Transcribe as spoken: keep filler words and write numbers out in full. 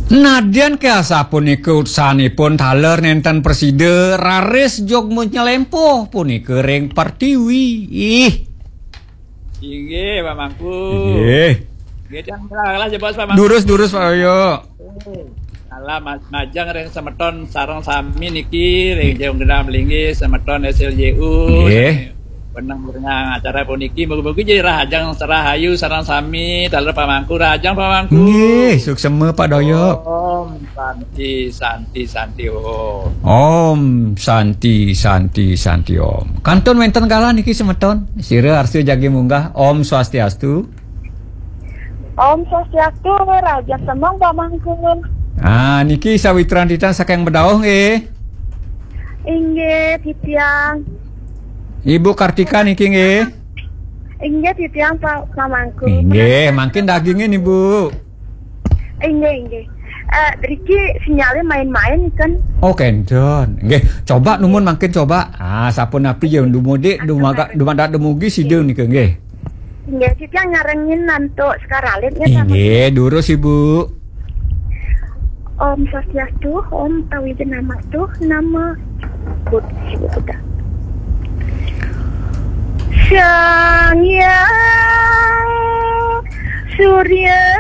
Nadyan ké asapunika utsanipun taler nénten prasida, raris jog nylempuh punika ring pertiwi. Ih. Inggih, Pak Mangku. Inggih. Nggih, tiang kalah jebos, Pak Mangku. Durus, durus, Pak Yoyo. Kalah ma-, majeng ring semeton sareng sami niki, ring Jung Genah Melinggih, semeton S L J U, nggih, sami wenang mirengang acara puniki. Mugi-mugi jadi rahajeng serahayu sareng sami, taler Pak Mangku, rahajeng Pak Mangku. Nggih, suksema Pak Doyok. Om Santi, Santi, Santi, Om. Om Santi, Santi, Santi, Om. Kantun wénten galah niki semeton. Sira arsa jagi munggah. Om Swastiastu. Om Swastiastu, rahajeng semeng Pak Mangku. Ah, niki sawitran titiang saking Bedauh nggih. Inggih, titiang. Ibu Kartika niki nggih. Inggih, titiang Pak Mangku. Inggih, mangkin dagingin Ibu. Inggih, inggih. Eh, driki sinyalnya main-main kan? Oh, kénten. Nggih, coba numun mangkin coba. Ah, sapunapi ya dumudik dumadak dumugi sida nika nggih. Inggih, titiang nyarengin antuk sekar alit nggih, Pak. Inggih, durus Ibu. Om Swastiastu, Om Tawijanamastu, nama Bud-, Buddha. Sang Hyang Surya